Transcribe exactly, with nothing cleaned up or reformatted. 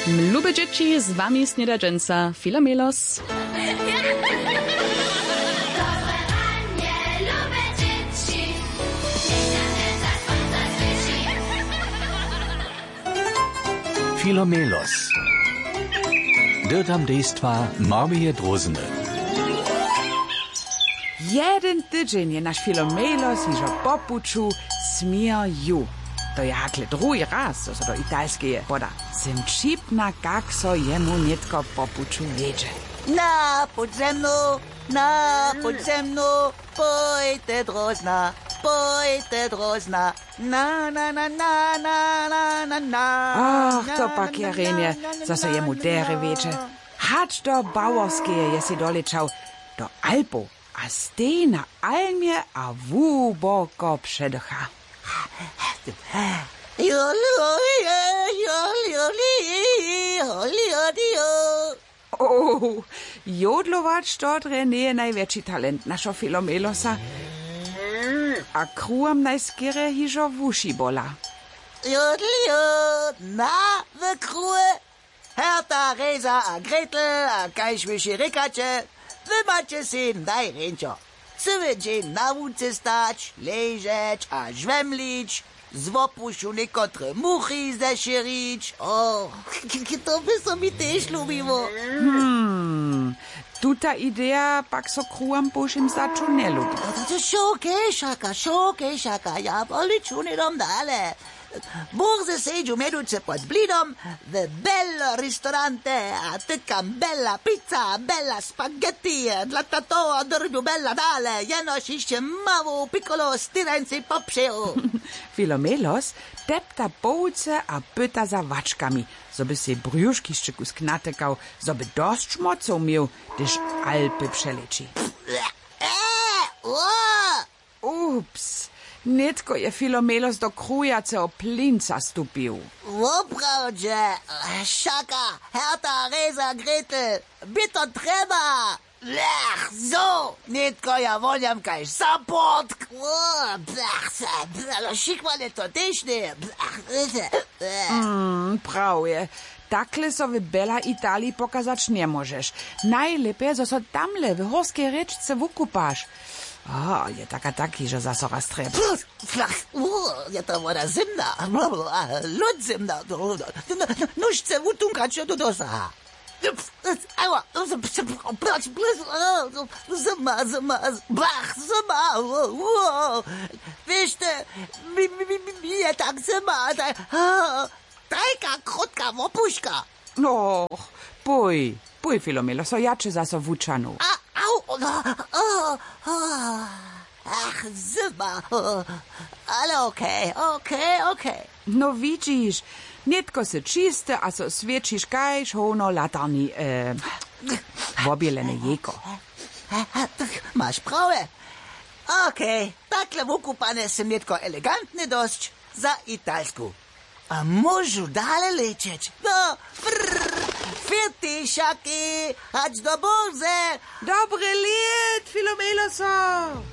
Lube dźěći, z wami sněda dźensa Filomelos. Filomelos. Dyrtam dejstwa Marmije Drózny. Jeden tydźeń je naš Filomelos hižo po puću směr ju. To je hakle druhi raz, zo so do Italskeje poda. Sym wćipna, kak so jemu nětko po puću wjedźe. Na, pójdź ze mnu, na, pójdź ze mnu, pójte Drózna, pójte Drózna, na, na, na. Ach, to pak je rjenje, zo so jemu derje wjedźe. Hač do Baworskeje je sej dolečał, do Alpow. A stej na Almje a hłuboko předocha. O, jodlować to drje njeje najwjetši talent našeho Filomelosa. A kruhom najskerje hižo wuši bola. Jodljo, na, w kruhe. Herta, Reza a Gretel, a kaž wy sej rěkaće, wy maće sej najrjeńšo. Cyły dźeń na łuce stać, ležeć a žwemlić, z wopušu někotre muchi zešěrić. O, k-, k-, to by so mi tež lubiło. Hmm, tuta ideja pak so kruhom po wšěm staću njelubi. To, to, to, šołkej, Šaka, šołkej, Šaka, ja poliču hnydom dale. Burze sedźu mjeduće pod blidom w Bel Ristorante a tykam bela pizza, bela spaghetti, dla tatowa dyrbju bela dale, jenož hišće mało piccolo stirańcej popřeju. Filomelos tepta po łuce a pyta za wačkami, zo by sej brjušk hišće kusk natykał, zo by dosć mocow měł, hdyž Alpy přeleći. E, o! Ups, nětko je Filomelos do krujaceho plinca stupił. Woprawdźe, Šaka, Herta, Reza, Gretel, bě to trjeba. Blech, zo, nětko ja wonjam kaž zaportk. O, blech, blech, šikłane to tež njeje. Blech, blech. Mm, prawje. Takle so w Bela Italiji pokazać njemóžeš. Najlěpje, zo so tamle w hórskej rěčce wukupaš. A, je tak a tak hižo zaso raz trjeba. Flach, u, je ta woda zymna, lód zymna. Nuž chce wutunkać, do dosaha. Aua, zyma, zyma, bach, zyma, u, u. Wěš ty, mi, mi, mi, mi, mi je tak zyma, tak, a. Tajka krótka wopuška. No, pój, pój, Filomelo, so ja će zaso wučanu. A, au, o, o, o. Ach, zyba. Ale okej, okej, okej. No widźiš, nětko sy čisty a so swěćiš kaž howno latarni, e, wobělene jejko. Maš prawje. Okej, takle wukupany sym nětko elegantny dosć za Italsku. A móžu dale lećeć. No, frrr, firti, šaki, hač do burze. Dobry lět, Filomeloso.